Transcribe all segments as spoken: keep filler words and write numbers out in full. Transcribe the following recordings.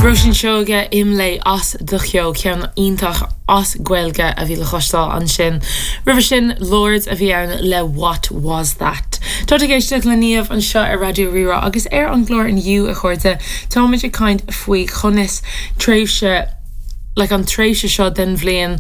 Róisín Seoige Imlé as Do Cheo ceann iontach as Gaeilge a bhí le cloisteáil ansin. Roimhe sin Lorde a bhí ann le What Was That. Tá ag éisteacht le Niamh anseo ar Raidió Rí-Rá agus ar an gclár inniu a chairde táimid ag caint faoi conas tréimhse le an tréimhse seo den bhliain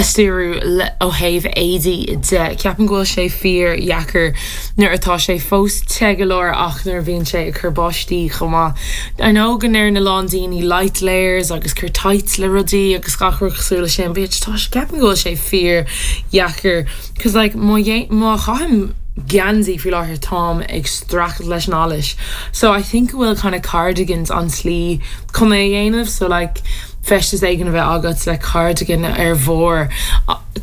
a stiúradh ó thaobh éadaí de ceapaim go bhfuil sé fíordheacair nuair atá sé fós te go leor ach nuair bhíonn sé ag cur báistí chomh maith. I know go ndeireann a lán daoine light layers agus cur tights le rudaí agus gach rud cosúil leis sin, but tá ceapaim go bhfuil sé fíordheacair cos like má má chaithim geansaí faoi láthair táim ag streachailt leis an allas. So I think bhfuil kind of cardigans an tslí chun é dhéanamh so like feisteas éigin a bheith agat le cardigan ar bharr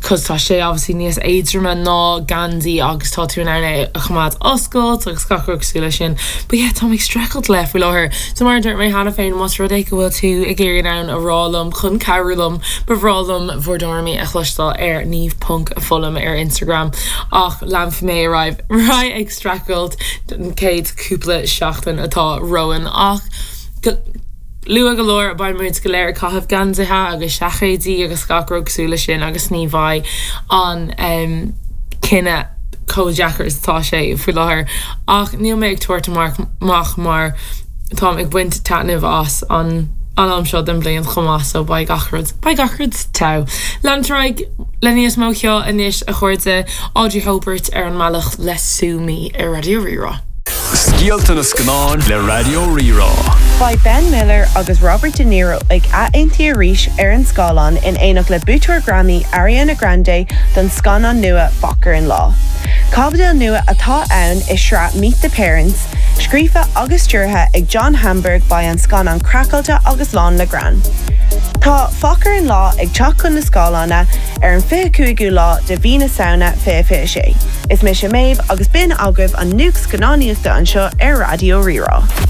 cos tá sé obviously níos éadroime ná geansaí agus tá tú in ann é a choimeád oscailte agus gach rud cosúil leis sin. But yeah, tá ag streachailt le faoi láthair. So mar dúirt mé cheana féin más rud é go bhfuil tú ag iarraidh ann a rá liom chun cabhrú liom ba bhreá liom bhur dtuairimí a chloisteáil ar niamh.foghlaim ar Instagram ach leanfaidh mé ar aghaidh ag streachailt an chéad cúpla seachtain atá romhainn ach luath go leor beidh muid go léir caitheamh geansaithe agus seaicéidí agus gach rud cosúil leis sin agus ní bheidh an um, cinneadh chomh deacair is atá sé faoi láthair ach níl mé ag tabhairt amach amach mar táim ag baint taitneamh as an an am seo den bhliain chomh maith so beidh gach rud beidh gach rud togha. Leanfaimid le níos mó ceoil anois a chairde Audrey Hobert ar an mbealach le Sue Me ar Raidió Rí-Rá. Scéalta na scannán le Raidió Rí-Rá. Beidh Ben Miller agus Robert De Niro ag athaontú arís ar an scáileán in éineacht le buaiteoir Grammy Ariana Grande don scannán nua Focker in Law. Caibidil nua atá ann i sraith Meet the Parents, scríofa agus stiúrtha ag John Hamburg beidh an scannán craiceáilte agus lán le greann. Tá Focker in Law ag teacht chun na scáileána ar an fiche cúigiú lá de mhí na Samhna fiche fiche sé. Is mise Méabh agus b'in agaibh an nuacht scannánaíochta anseo ar Raidió Rí-Rá.